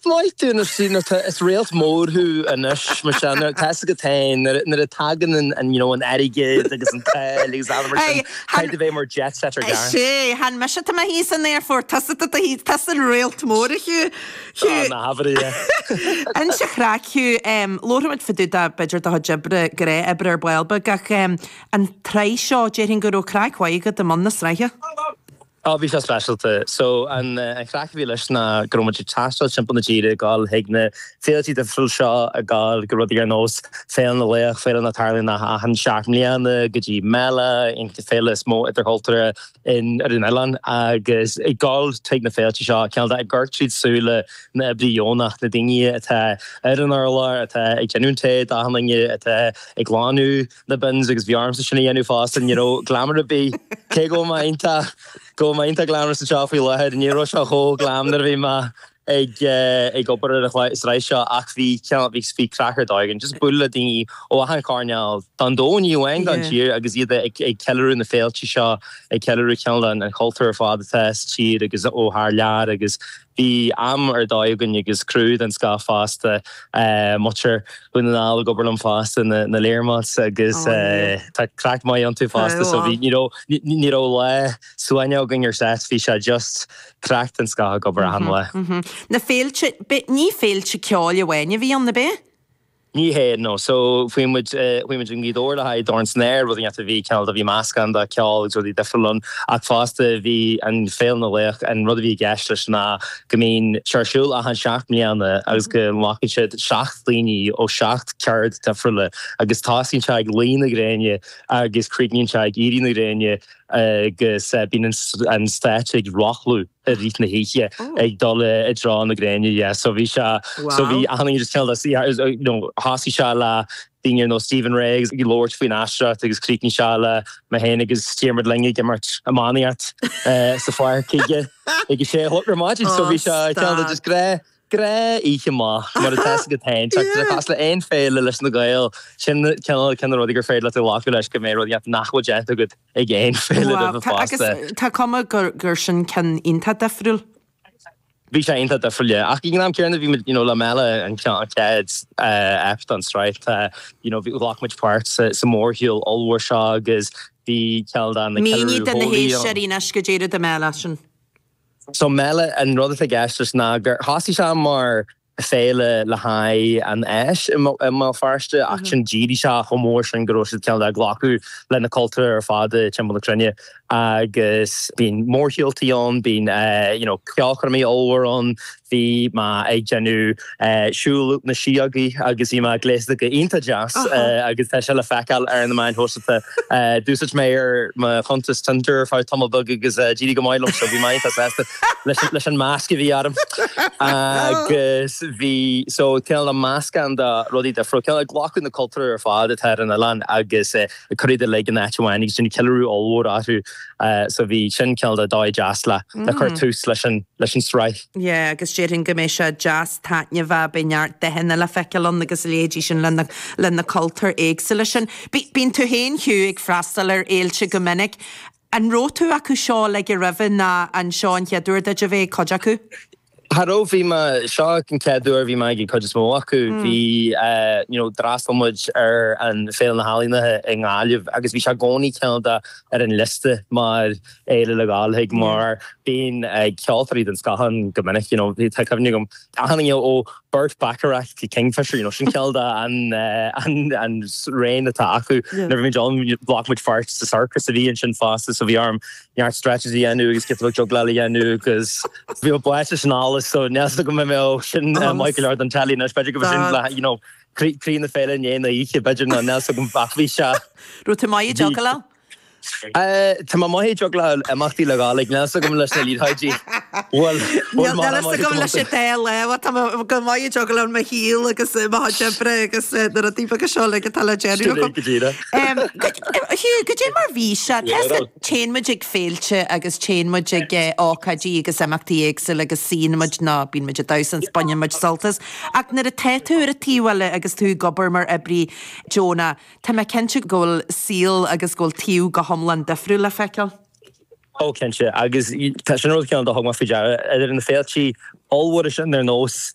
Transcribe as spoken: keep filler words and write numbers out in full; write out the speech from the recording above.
Maith tú na is réalt mór thú anois mar sin tá go tain nuair a tagann an an you know an airgead agus an t-ádh agus Hey, Caiid a bheith mar jet setter gar. Sé han me se me hí san airport tá tá an réalt mór chu na hair. An se chraic labharfaimid fá dtaobh de b'fhéidir do chuid oibre gnáthoibre ar ball beag ach an tsraith seo déarfainn go raibh craic mhaith agat i mbun na sraithe. Á bhí sé speisialta. So an an chraic a bhí leis ná go raibh muid ag taisteal timpeall na tíre ag dul chuig na féiltí difriúil seo ag dul go rudaí ar nós Féile na Laoch, féile na tarlaíonn achan seacht mbliana go dtí Mela an féile is mó idirchultúrtha in ar an oileán agus ag dul chuig na féiltí seo ceann ag gort tríd súile na oibrithe deonacha na daoine atá ar an urlár atá ag déanamh tae d'achan duine atá ag glanadh na bins agus bhí ormsa sin a dhéanamh fosta you know glamour a bí cé go mba iontach go mba iontach glamorous anseo faoi láthair ní raibh sé chomh glam nuair a bhí mé ag ag obair ar an tsraith seo ach bhí bhí bhí craic ar dóigh just bualadh le daoine ó achan chearn den domhan ní amháin den tír agus iad ag ag ceiliúradh na féilte seo ag ceiliúradh ceann an chultúr ar fad atá sa tír agus ó thar lear agus bhí am ar dóigh againn agus criú den scoth fosta muintir Dhún na nGall ag obair liom fosta na na Learmonts agus tá craic maith iontu fosta so bhí you know ní raibh lá suaimhneach againn ar set bhí sé just craic den scoth ag obair achan lá. Na féilte ní féilte ceoil amháin a bhí ann ab ea? Ní hé no so faoi muid faoi muid an gidóir le haghaidh Dorn san Aer rud a bhí ceann a bhí meascán de cheol agus rudaí difriúla ann ach fosta bhí an Féile na Laoch an rud a bhí i gceist leis ná go mbíonn sé ar siúl achan seacht mbliana agus go nglacann siad seacht daoine ó seacht ceard difriúla agus tosaíonn sé ag luí na gréine agus críochnaíonn sé ag éirí na gréine agus bíonn an stáitse ag rothlú i rith na hoíche ag dul i dtreo na gréine yeah so bhí sé so bhí achan just you know thosaigh sé le daoine ar nós Stephen Rea agus ag labhairt faoin aisteoireacht agus chríochnaigh sé le mé féin agus Diarmuid Lynge ag imirt iománaíocht sa pháirc ag ag sé a chlog ar maidin so bhí sé ceann just gré gré oíche maith mar atá go tain cos le aon féile leis na Gaeil sin ceann ceann rudaí gur féidir leat a ghlacadh leis go mbeidh rudaí nach bhfuil déanta agat ag aon féile roimhe fosta. Tá cuma gur gur sin ceann iontach difriúil. Bhí sé iontach difriúil ach ag an am céanna bhí you know, le Mela an chéad ep den tsraith you know, bhí ghlac muid páirt sa, sa mórshiúl ollmhór seo agus bhí ceann na Mínigh do na héisteoirí anois go dtéire de Mela sin. So Mela an rud atá i gceist leis ná gur thosaigh sé mar féile le haghaidh an fheis i mBéal Feirste ach sin d'éirigh sé chomh mór sin go raibh siad ceann le glacadh le na cultúir ar fad timpeall na cruinne agus bíonn mórshiúltaí ann bíonn you know, ceolchoirmí ollmhór ann bhí mé ag déanamh siúl na síogaí agus bhí mé gléasta go iontach deas agus tá sé le feiceáil ar na meáin shóisialta d'úsáid mé ar mo chuntas Tinder ar feadh tamall beag agus d'éirigh go maith liom so bhí mé iontach sásta leis an masc a bhí orm agus bhí so cineál meascán de rudaí difriúla cineál ag glacadh na cultúir ar fad atá ar an oileán agus cur iad uilig in áit amháin agus sin ceiliúradh ollmhór orthu so bhí sin cineál de dóigh deas le le cur tús leis an leis an sraith. Yeah, agus déarfainn go mbeidh sé deas taitneamhach beidh neart dathanna le feiceáil ann agus leithéidí sin le na le na cultúir éagsúla sin. Bíonn tú féin Hugh ag freastal ar fhéilte go minic. An raibh tú acu seo le go roimhe ná an seo an chéad uair duit a bheith cuid acu? Cha raibh bhí mé seo an chéad uair bhí mé ag cuid is mó acu bhí you know d'fhreastail muid ar an Féile na hEalaíona i nGaillimh agus bhí sé i gcónaí ceann de ar an liosta mar fhéile le gabháil chuig mar bíonn ceoltóirí den scoth ann go minic you know tá cuimhne agam achan duine ó Burt Bacharach go Kingfisher you know sin ceann de an an an raon atá acu nuair bhí muid ann ghlac muid páirt sa circus a bhí ansin fosta so bhí orm neart stretches a dhéanamh agus giota beag juggláil a dhéanamh agus bhí mé báite san allas so níl go mbeidh sin maith go leor don telly anois b'fhéidir go sin le you know croí na féile inné na oíche b'fhéidir ná níl go ach bhí sé Raibh tú maith ag juggláil? Tá mé maith ag juggláil imeachtaí le gabháil níl agam leis na liathróidí. Bhfuil agam leis an dá lámh tá go maith ag juggláil mo shaol agus mo chuid oibre agus na rudaí beaga seo le atá le déanamh agam. Hugh, goidé mar bhí sé téann muid ag féilte agus téann muid ag ócáidí agus imeachtaí éagsúla agus suíonn muid ná bíonn muid ag damhsa is baineann muid sult as. Ach nuair atá tú ar an taobh eile agus tú ag obair mar oibrí deonach, Tá mé cinnte go bhfuil saol agus go bhfuil taobh go hiomlán difriúil le feiceáil. Ó cinnte agus tá sin rud ceann do thug mé faoi deara idir na féiltí ollmhóra sin ar nós